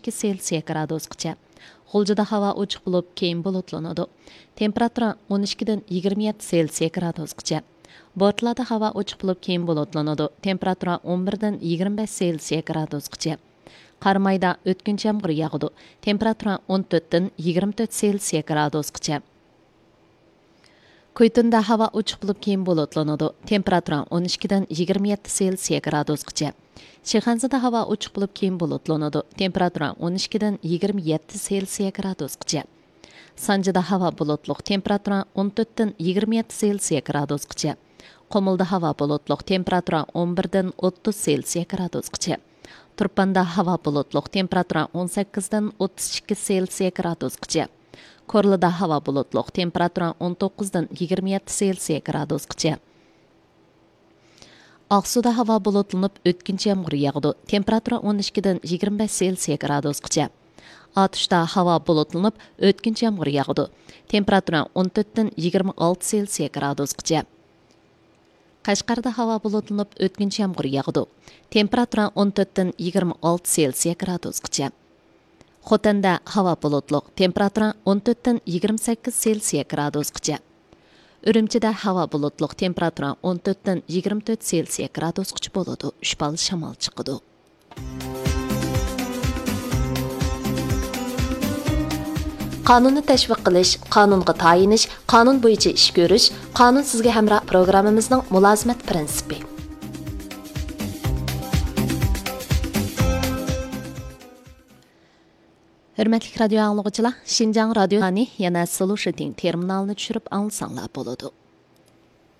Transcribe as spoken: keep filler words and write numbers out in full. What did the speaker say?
ئىككى سېلسىيە گرادۇسقىچە. غۇلجىدا ھاۋا ئوچۇق بولۇپ، كېيىن بۇلۇتلىنىدۇ. تېمپېراتۇرا ئون ئىككىدىن يىگىرمە يەتتە سېلسىيە گرادۇسقىچە. بورتالادا ھاۋا ئوچۇق بولۇپ، كېيىن بۇلۇتلىنىدۇ. تېمپېراتۇرا ئون بىردىن يىگىرمە بەش سېلسىيە گرادۇسقىچە. قارامايدا ئۆتكۈنچى يامغۇر ياغىدۇ. تېمپېراتۇرا ئون تۆتتىن يىگىرمە تۆت سېلسىيە گرادۇسقىچە. كۇيتۇندا ھاۋا ئوچۇق بولۇپ، كېيىن بۇلۇتلىنىدۇ. تېمپېراتۇرا ئون ئىككىدىن يىگىرمە يەتتە سېلسىيە گرادۇسقىچە. شىخەنزىدە ھاۋا ئوچۇق بولۇپ، كېيىن بۇلۇتلىنىدۇ. تېمپېراتۇرا ئون ئىككىدىن يىگىرمە يەتتە سېلسىيە گرادۇسقىچە. سانجىدا ھاۋا بۇلۇتلۇق، تېمپېراتۇرا ئون تۆتتىن يىگىرمە يەتتە سېلسىيە گرادۇسقىچە. قۇمۇلدا ھاۋا بۇلۇتلۇق، تېمپېراتۇرا ئون بىردىن ئوتتۇز سېلسىيە گرادۇسقىچە. تۇرپاندا ھاۋا بۇلۇتلۇق، تېمپېراتۇرا ئون سەككىزدىن ئوتتۇز ئىككى سېلسىيە گرادۇسقىچە. كورلىدا ھاۋا بۇلۇتلۇق، تېمپېراتۇرا ئون توققۇزدىن يىگىرمە يەتتە سېلسىيە گرادۇسقىچە. ئاقسۇدا ھاۋا بۇلۇتلىنىپ، ئۆتكۈنچى يامغۇر ياغىدۇ. تېمپېراتۇرا ئون ئىككىدىن يىگىرمە بەش سېلسىيە گرادۇسقىچە. ئاتۇشتا ھاۋا بۇلۇتلىنىپ، ئۆتكۈنچى يامغۇر ياغىدۇ. تېمپېراتۇرا ئون تۆتتىن يىگىرمە ئالتە سېلسىيە گرادۇسقىچە. قەشقەردە ھاۋا بۇلۇتلىنىپ، ئۆتكۈنچى يامغۇر ياغىدۇ. تېمپېراتۇرا ئون تۆتتىن يىگىرمە ئالتە سېلسىيە گرادۇسقىچە. خوتەندە ھاۋا بۇلۇتلۇق، تېمپېراتۇرا ئون تۆتتىن يىگىرمە سەككىز سېلسىيە گرادۇسقىچە. ئۈرۈمچىدە ھاۋا بۇلۇتلۇق، تېمپېراتۇرا ئون تۆتتىن يىگىرمە تۆت سېلسىيە گرادۇسقىچە بولىدۇ، شىپالى شامال چىقىدۇ. قانۇننى تەشۋىق قىلىش، قانۇنغا تايىنىش، قانۇن بويىچە ئىش كۆرۈش، قانۇن سىزگە ھەمراھ پروگراممىمىزنىڭ مۇلازىمەت پىرىنسىپى. ھۆرمەتلىك رادىيو ئاڭلىغۇچىلار، شىنجاڭ رادىيونى يەنە سلۇشىتىڭ تېرمىنالىنى چۈشۈرۈپ ئاڭلىساڭلار بولىدۇ.